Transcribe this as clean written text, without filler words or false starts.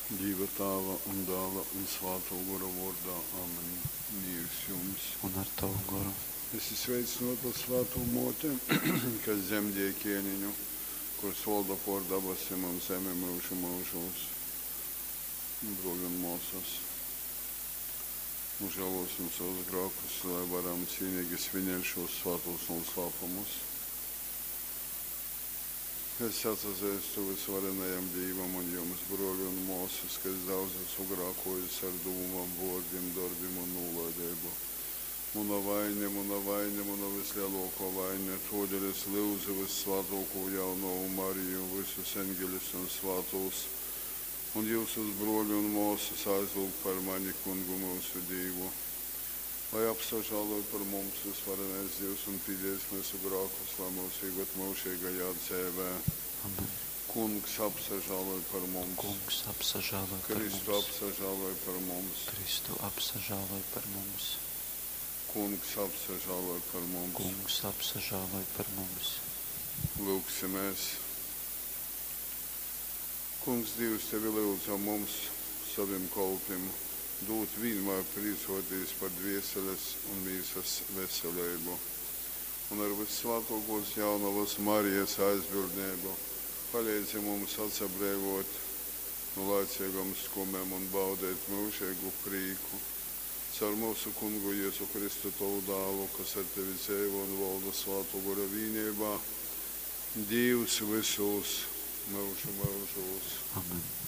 Dīva Tāva un Dāla un Svātō Gora vōrdā. Amen. Mīrs jums! Un ar tovu goru. Esi sveicynōta, Svātō Mōte, kas dzemdēji Kēneņu, kurs volda pōr dabasim un zemi myužu myužūs. Brōli un mōsas, nūžālōsim sovus grākus, lai varam cīneigi svinēt šūs svātūs nūslāpumus. Es atsazeistu vysvarenajam Dīvam un jums, brōli un mōsas, ka es daudz asu grākōjis ar dūmom, vōrdim, dorbim un nūlaideibu. Muna vaine, muna vaine, muna vyslelōkō vaine. Tōdēļ es lyudzu vyssvātōkū Jaunovu Mariju, vysus eņgeļus un svātūs, un jyusus, brōli un mōsas, aizlyugt par mani Kungu myusu Dīvu. Lai apsažāloj par mums vysvarenais Dīvs un pīdēs myusu grākus, lai myus īved myužeigajā dzeivē. Amen. Kungs apsažāloj par mums. Kungs apsažāloj par Kristu mums. apsažāloj par mums. Kristu apsažāloj par mums. Kungs apsažāloj par mums. Kungs apsažāloj par mums. Lūgsimies. Kungs, Dīvs, tevi lyudzam mums, sovim kolpim, dūt vīnmār prīcōtīs par dvēseles un mīsas veseleibu. Un ar vyssvātōkōs Jaunovas Marijas aizbildneibu paleidzi mums atsabreivōt nu laiceigom skumem un baudeit myužeigu prīku. Caur myusu Kungu Jezu Kristu, tovu Dālu, kas ar tevi dzeivo un volda Svātō Gora vīneibā, Dīvs vysūs myužu myužūs. Amen.